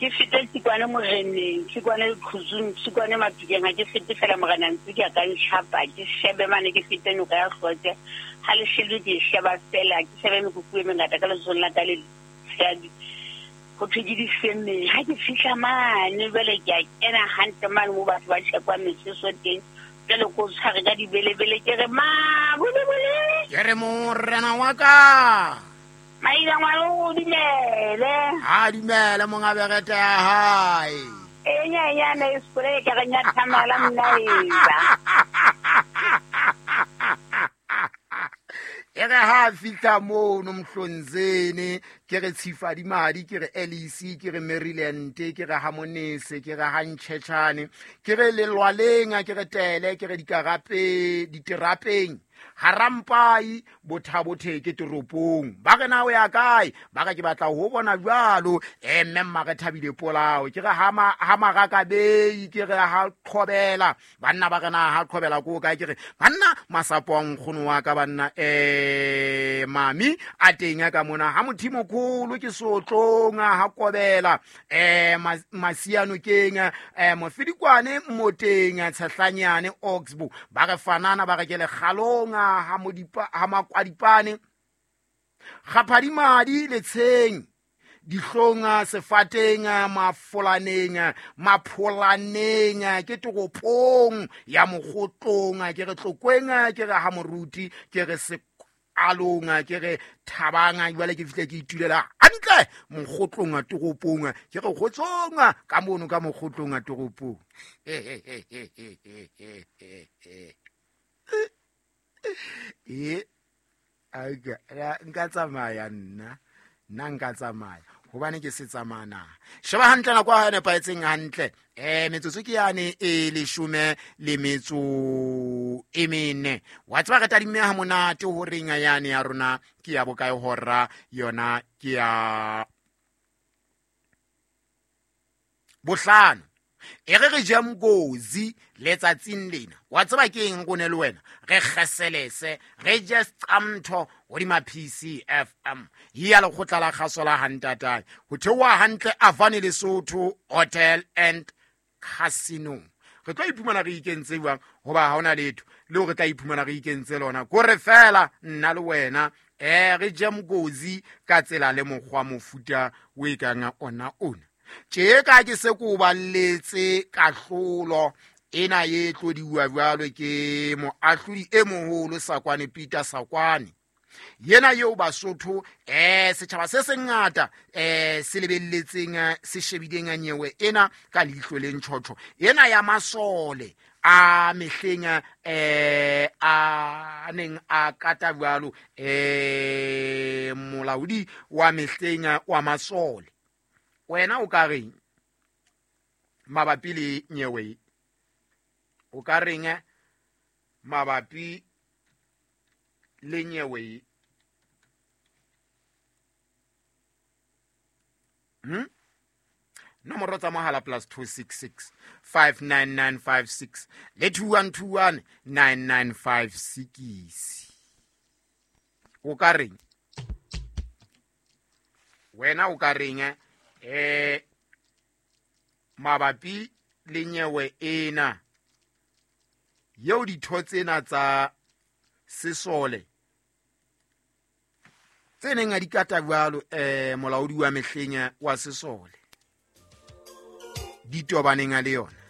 Ke fete Tsikwane moreneng, Tsikwane Leqhuzung, Tsikwane Matukeng, ha ke fete fela morena ntse ke a ka ntjhapa, ke shebe mane ke fete noka ya Hlote. Ha le shebe ke e sheba fela, ke shebe mekuku e mengata ka letsohong la ka le tshehadi. Ho thwe ke difemeng. Ha ke fihla mane jwale ke a kena hantle mane moo batho ba tjhekwang meseso teng. Jwale ko tshware ka dibelebele ke re mabulebule. Ke re morena wa ka. Maina ngwana o dumele. A dumele monga berete ya hae. E nyenyane e spray ke re nyathamela mnaeza. E re ha fitlha mono Mhlonzeni, ke re Tshifadimadi, ke re Alice, ke re Maryland, ke re Hamonese, ke re Hantšhetšhane, ke re Lelwaleng, ke re Tele, ke re dikarape diterapeng, Harampai, Bothabotheke toropong. Ba re na o ya kae? Ba re ke batla ho bona jwalo. Mme mma re thabile polao. Ke re ha Marakabei, ke re ha Qhobela. Banna ba re na ha Qhobela ko kae? Ke re banna masapo a nkgono wa ka banna, mami a teng ka mona ha Mothimokholo ke sotlong ha Kobela, Masiano keng, Mofidikwane Moteng, Tshehlanyane Oxbow. Ba re fanana ba re ke lekgalong ha Modipa, ha Makwadipane, Kgaphadimadi Letsheng, dihlong sefateng, mafolaneng, mapholaneng, ke toropong ya Mokgotlong, ke re Tlokweng, ke re ha Moruti, ke re Sekalong, ke re Thabang. Jwale ke fihle ke itulela hantle Mokgotlong toropong, ke re kgotsong ka mono ka Mokgotlong toropong. E aka nka tsamaya nna, nna nka tsamaya hobane ke se tsamaya na. Sheba hantle nako ya nepahetseng hantle. Metsotso ke yane e leshome le metso e mene. Wa tseba re tadimme ha monate ho reng yane ya rona ke ya bokae hora yona ke ya bohlano. E re re je mkozi letsatsing lena. Wa tseba ke eng rone le wena? Re kgeselese, re je seqamtho hodima PCFM. Ya lekgotla la kgaso la Hantatae. Ho theoha hantle Avani Lesotho Hotel and Casino. Re tlo iphumana re ikentse jwang? Hoba ha hona letho leo re tla iphumana re ikentse lona. Kore fela nna le wena, re je mkozi ka tsela le mokgwa mofuta o e kang ona ona. Tje ka ke se ko balletse kahlolo ena e tlodiwa jwalo ke moahlodi e moholo Sakwane Peter Sakwane. Yena eo Basotho, setjhaba se sengata, se lebelletseng, se shebileng nyewe ena ka leihlo le ntjhotjho. Ena ya masole a mehleng, a neng a kata jwalo, molaodi wa mehleng wa masole. Wena o ka reng mabapi le nyewe? O ka reng mabapi le nyewe? Nomoro tsa mohala plus 266 59956 le 2121 9956. O ka reng? Wena o ka reng, mabapi le nyewe ena yeo ditho tsena tsa sesole tse neng a di kata jwalo, molaodi wa mehleng wa sesole di tobaneng a le yona?